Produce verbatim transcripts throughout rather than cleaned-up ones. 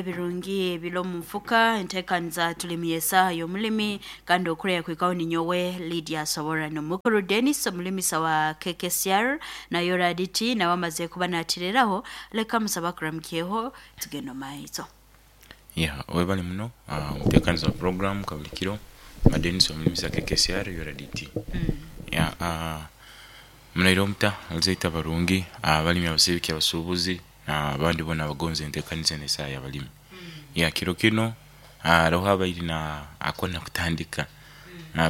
Ebirungi ebiri omu nfuka enteekaniza tulimi y'esaaha y'omulimi kandi okureya kwikaho ninyowe Lydia Soborano. Mukuru Dennis omulimisa wa K K C R nayo Raditi nawe amaze kuba natireraho, leka musaba kuramukyeho tugenda maiso. Yeah, webale muno uh, omuteekaniza wa program kabulikiro Madenis omulimisa K K C R U R D T. Yeah, uh, munaire omuta alizaita barungi abalimi, abasibiki, abasubuzi n'abandi boona abagonza enteekaniza enu esaaha y'abalimi. Yeah, kiro kinu haroho abaire na akwenda kutandika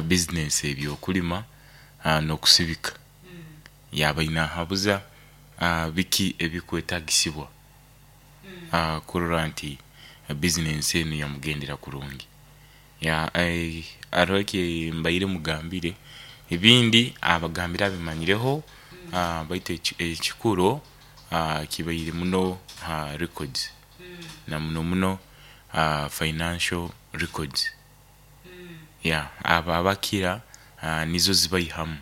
bizinesi ebyokulima n'okusibika. Yaba aine ahabuza biki ebikwetagisibwa kurora nti bizinesi enu yamugendera kurungi. Yeah, haroho ekimbaire mugambire, ebindi abagambire abimanyireho, baitu ekikuru kibaire muno ha records na muno muno financial records. Yeah, abo abakira nizo zibaihamu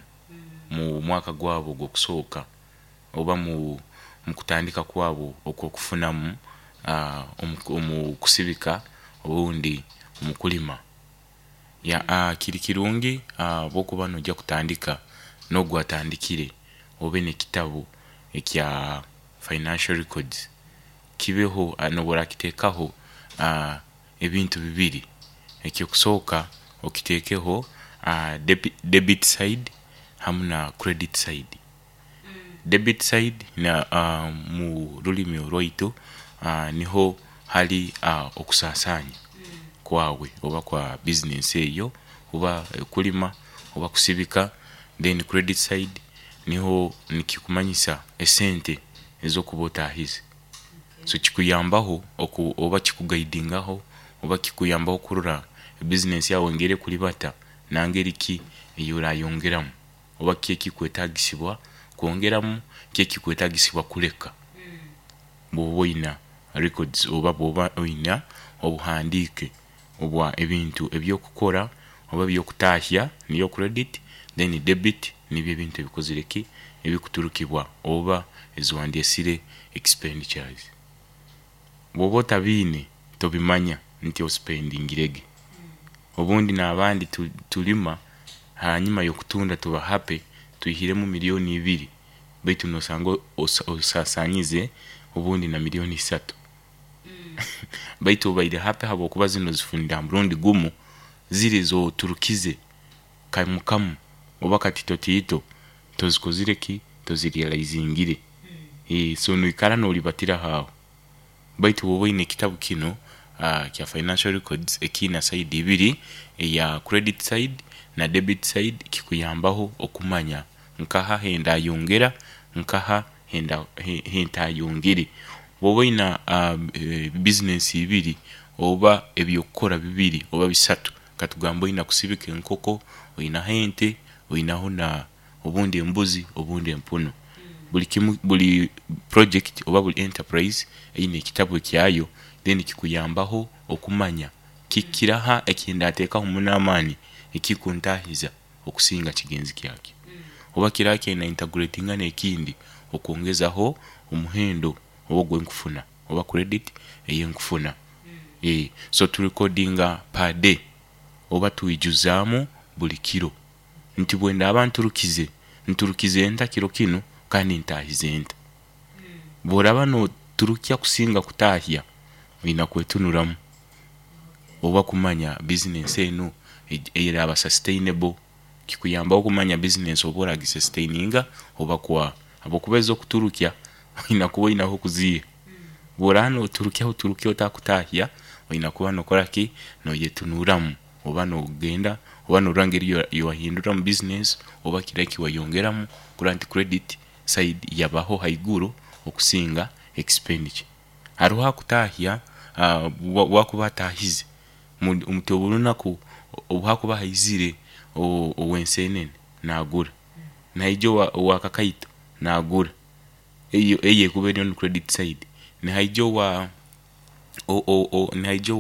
mu mwaka gwabo ogw'okusooka oba mu mukutandika kwabo okw'okufunamu omu kusibika obundi omu kulima. Yeah, kiri kirungi obu okuba noija kutandika n'ogu atandikire obe n'ekitabu ekya financial records kibeho n'obu orakiteekaho ebintu bibiri: eky'okusooka okiteekeho debit side hamu na credit side. Debit side mu rulimi orwaitu niho hari okusaasaanya kwawe oba kwa bizinesi eyo oba kulima oba kusibika, then credit side niho nikikumanyisa esente ez'okuba otaahize. So kikuyambaho oba kikugaidingaho oba kikuyambaho kurora bizinesi yawe engeri ekulibata na ngeri ki eyi orayongeramu oba ki ekikwetagisibwa kwongeramu, ki ekikwetagisibwa kuleka bw'oba oina records oba bw'oba oina obuhandiike obwa ebintu eby'okukora oba eby'okutaahya niyo credit, then debit nibyo ebintu ebikozire ki, ebikuturukibwa oba eziwandyesire expenditures. Bw'oba otabiine tobimanya nti ospendingirege. Obundi n'abandi tulima, hanyuma y'okutunda tuba happy twihiremu milioni ibiri, baitu nosanga osaasanyize obundi na milioni isatu, baitu obaire happy habwokuba zinu ozifunire ha murundi gumu. Ziri ez'oturukize kamu kamu oba katito tiito tozikozire ki, tozirealizingire, so noikara nolibatiraho aho. Baitu bw'oba oine ekitabu kinu kya financial records ekiina side ibiri, eya credit side na debit side, kikuyambaho okumanya nkaha hendayongera, nkaha hentayongere. Bw'oba oina bizinesi ibiri oba eby'okukora bibiri oba bisatu, katugambe oina kusibika enkoko, oinaho ente, oinaho na obundi embuzi obundi empunu, buli kimu, buli project oba buli enterprise eine ekitabu ekyayo, then kikuyambaho okumanya kiraha ekindateekaho muno amaani ekikuntahiza okusinga kigenzi kyakyo, oba kiraha ekinda integratinga n'ekindi okwongezaho omuhendo oba ogwenkufuna oba credit eyinkufuna. So turekodinga per day oba twijuzaamu buli kiro nti bwendaaba nturukize, nturukize nta kiro kinu kandi ntaahize nta? Bworaba noturukya kusinga kutaahya, oina kwetunuramu oba kumanya bizinesi enu eraba sustainable. Kikuyambaho kumanya bizinesi oba oragisustaininga oba kwa, habwokuba ez'okuturukya oina kuba oina h'okuziiha. Bworaba noturukya oturukya otakutaahya, oina kuba nokora ki, noyetunuramu oba nogenda oba norora engeri wahinduramu bizinesi oba kiraha ekiwayongeramu kurora nti credit side yabaho haiguru okusinga expenditure. Haroho akutaahya, obu akuba ataahize nti orunaku obu hakuba haizire ow'ensenene naagura, nihaija owa kakaito naagura, eyo ekuba eri on credit side, nihaija owa nihaija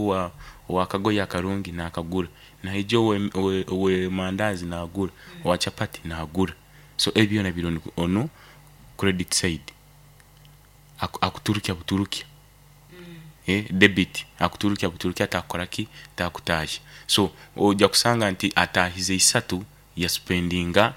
owa kagoye akarungi naakagura, nihaija owe mandazi naagura, owa chapati naagura, so ebi byona biri on credit side, akuturukya buturukya. eh, debit akuturukya buturukya atakora ki, takutahya. So ojja kusanga nti atahize isatu, yaspendinga